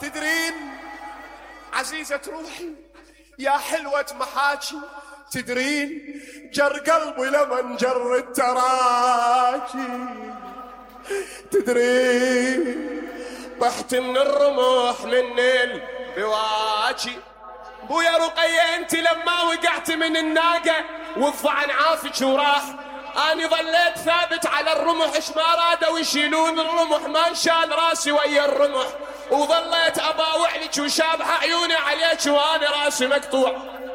تدرين عزيزة روحي يا حلوة محاكي، تدرين جر قلبي لمن جر التراكي، تدرين طحت من الرمح من البواكي. بويا رقية انت لما وقعت من الناقة والظعن عافك وراح، اني ظليت ثابت على الرمح، اش ما رادوا يشيلون الرمح ما انشال راسي ويا الرمح، وظليت اباوع لك وشابحة عيوني عليك وانا راسي مقطوع.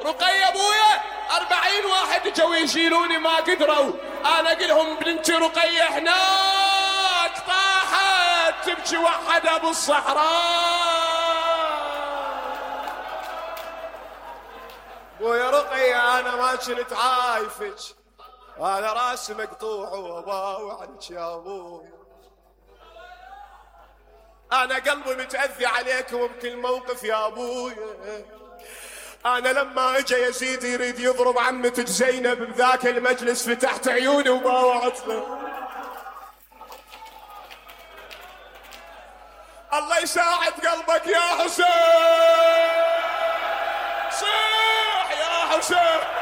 رقية بويا 40 واحد جو يشيلوني ما قدروا، انا اقلهم بنتي رقية هناك طاحت تبكي وحدها بالصحراء. بويا رقية انا ما كنت عايفك، انا راسي مقطوع واباوع عنك يا ابوي، انا قلبي متأذي عليكم بكل موقف يا ابوي. انا لما اجى يزيد يريد يضرب عمتك زينب بذاك المجلس فتحت عيوني وباوعت له. الله يساعد قلبك يا حسين، صيح يا حسين.